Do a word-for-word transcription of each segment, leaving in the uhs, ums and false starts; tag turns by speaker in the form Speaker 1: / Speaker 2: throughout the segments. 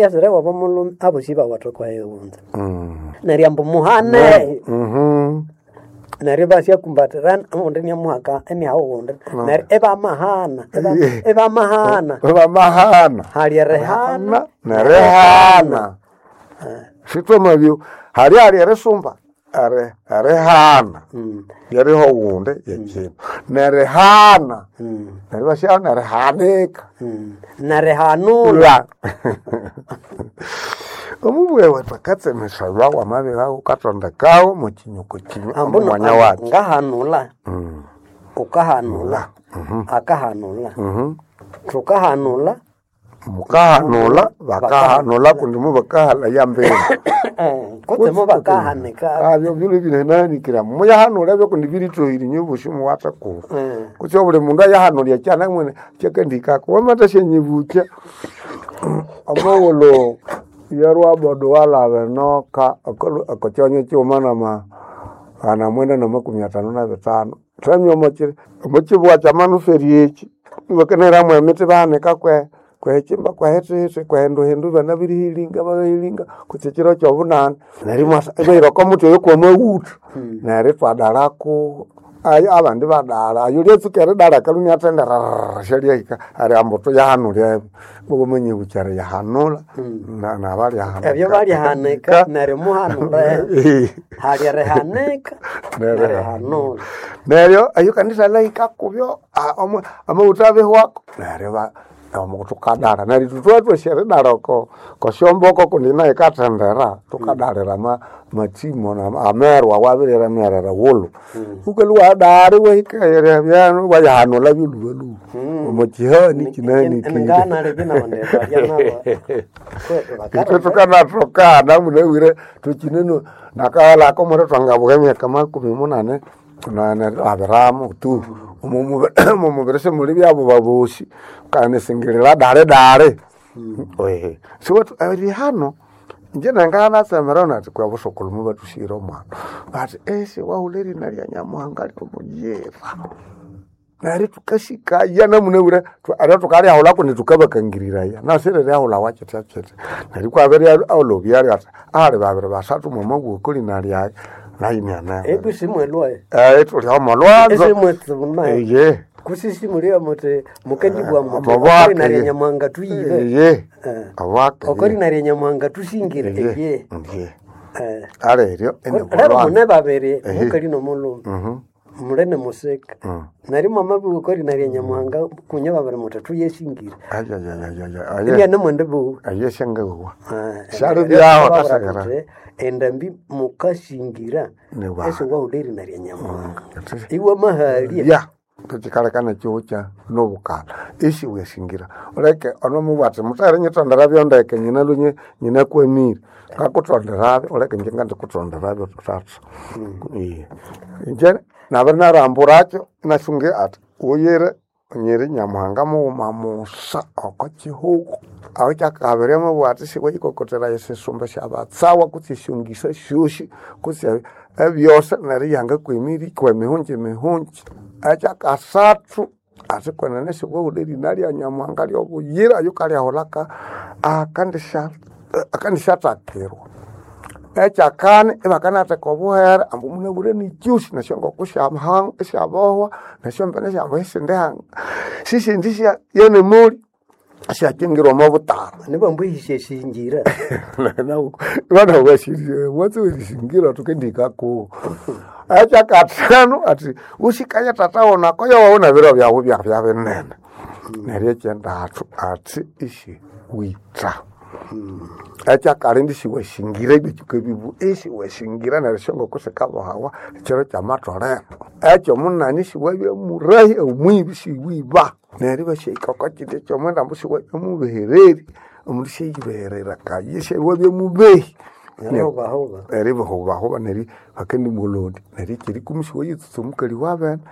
Speaker 1: Yasire wabo mulume abosi bawatha kwayighunza.
Speaker 2: Mm.
Speaker 1: Neryo ambu muhane
Speaker 2: Mhm.
Speaker 1: neryo basyakumbatirana omundi niamuhaka eniaha owundi neryo ibamahana iba- ibamahana
Speaker 2: Bamahana.
Speaker 1: hali erihana
Speaker 2: nerihana. Sitwamabyo hali hali erisumba eri erihana.
Speaker 1: Mm,
Speaker 2: Yeriho owundi yekino. Nerihana.
Speaker 1: mm,
Speaker 2: Neryo basya nerihanika.
Speaker 1: mm. nerihanula
Speaker 2: La. Omubwe wethu akatsemesebwa wamabira ukatondekawo mukinyuko kinyu
Speaker 1: ambu no-
Speaker 2: omwanya wakyo.
Speaker 1: ngahanula
Speaker 2: Mm.
Speaker 1: ukahanula akahanula
Speaker 2: Mhm.
Speaker 1: thukahanula
Speaker 2: Mukahanula bakahanula kundi mubakahala yambere.
Speaker 1: kutsemo bakahanika
Speaker 2: Abyo bino binananikira muyahanula byo kundi biritohire nyo bushumu watakuru.
Speaker 1: Eh,
Speaker 2: Kutsi buli mundu ayahanulya kyana mwene kyakandikako wamata shenyibucha. Amawolo yarwa bodo walabe noka akokyonyo kyuma nama ana mwenda na makumi atano na bitano. Thamya omukiri omukibwa kyamanuferi eki bakaneramu emiti bahanika kwe kwechimba kwahethihthi kwehinduhindu bana birihilinga bahilinga kutsi kiro kyobunani neryo imwasa ibahira omuti oyo kwamawutha neryo ithwadalako ayo abandi badala ayo lyatsuka eridala kaluni athende rrrr syalyahika ari ambu tuyahanulya ebyo bawamanyibukya eriyahanula na- nabalyahanika
Speaker 1: ebyo balyahanika neryo muhanula hali erihanika nerihanula
Speaker 2: neryo eyo kanisa lahika kubyo a- omu- amawutha abihwako neryo ba- omu tukadala neryo ithwe twatwasi eridala oko kosyomboko kundi nayo ikathendera tukadalira ama- amatsimo na- amerwa wabiriremerera wulu ukalwa wadali wahika byanu wayahanula byolhubalhuba omukihani kinanikire
Speaker 1: nganalibyo nabandi balya nabo
Speaker 2: itwe tukanatokana munawire tukineno nakahalako muri twangabuka emyaka makumi munane nane abiramu tu omumubiri simuli byabo babosi kanisingirira dale dale ehe siwethu erihano inje nanganatsemera nati kwa busukulumu batusire omwana bati esi wahula erina lya nyamuhanga lyomuyira neryo tukasikaya namunabwire ate tukalyahula kundi tukabakangiriraya nasire lyahula wakyitya kyitya neryo kwabere olobya ati ali babiri basathu mwamabwoko lina lyaye nayinyana
Speaker 1: ebisimwelwaye
Speaker 2: tulyaomolwanzo
Speaker 1: esimwetsibuna
Speaker 2: eye
Speaker 1: kusisimulia muti mukendibwa muti
Speaker 2: Amabwake,
Speaker 1: okori narya
Speaker 2: ye.
Speaker 1: nyamuhanga tuyibe
Speaker 2: eye
Speaker 1: Eh.
Speaker 2: abwake
Speaker 1: okori narya nyamuhanga tusingire
Speaker 2: eye
Speaker 1: eye
Speaker 2: eye
Speaker 1: Eh.
Speaker 2: aleryo
Speaker 1: lero mune babiri
Speaker 2: Ehe.
Speaker 1: mukali nomulume mulene musika neryo mwamabiwa okori narya nyamuhanga kunye babiri muti tuyesingire ibyane mwende buwe
Speaker 2: aye syangawa
Speaker 1: Eh,
Speaker 2: Syali
Speaker 1: eh,
Speaker 2: byaho
Speaker 1: babura
Speaker 2: tasagara.
Speaker 1: kuti, endambi mukasingira
Speaker 2: Ni wa.
Speaker 1: ese wahula erina rya nyamuhanga iwe mahalya
Speaker 2: ya tukikalekana chiucha nobukala isi wesingira uleke onomubwati mutare nyitondera byondeke nyina lunye nyina kwemire ngakutonderabyo uleke nje ngandikutonderabyo tatu iye nje nabiri naramburakyo nasunge ati uyire nyiri nyamuhanga mughuma musa oko chihuko aho kyakabiri mubwati siweyikokotera esisumba syabatsawa kutsi esyongisa syosi kutsi ebyose neryo yanga kwemiri kwemihunji mihunji ekyakasathu ati kwenene siwahula erina lya nyamuhanga lyobuyira yukalyahulaka akandisya akandisyathakirwa ekyakani ibakanatheka obuhere ambu munabure nikyusi nesyongoko syamahanga syabohwa nesyombene syambu esindi hanga sisindi sya yenemuli syakyingirwa omo butara
Speaker 1: nibambu ehisya esingira
Speaker 2: vana watsi werisingira tukendikaku ekyakathanu ati usikaya tata wonako yowawona biro byawu byabya binene neryo ekyendathu ati isi witha ekyakali siwashingira ebyo bibu isi washingira neryo syongoko sikabohawa ekiro kyamatolero ekyo munani siwabya murahi omwibi siwiba neryo basyahika oko kindi ekyomwenda ambu siwabya mubehereri omundu syayibeherera kayi siwabya mubehi
Speaker 1: Neryo
Speaker 2: eribahubahuba neri bakendimulodi neri kyerikumi siwayitsutsa omukali wabene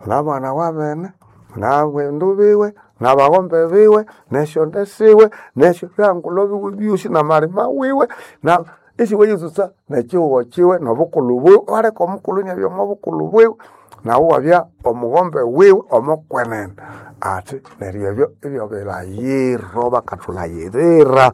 Speaker 2: nabana wabene nabendu biwe nabagombe biwe nesyonde siwe nesyo byangulo biwe byosi namalima wiwe na isiwayitsutsa nekihugo kiwe nobukulhu bwiwe waleka omukulhu inabya omobukulhu bwiwe nawu wabya omughombe wiwe omokwenene ati neryo ebyo ebyo bilayiro bakathulayirira.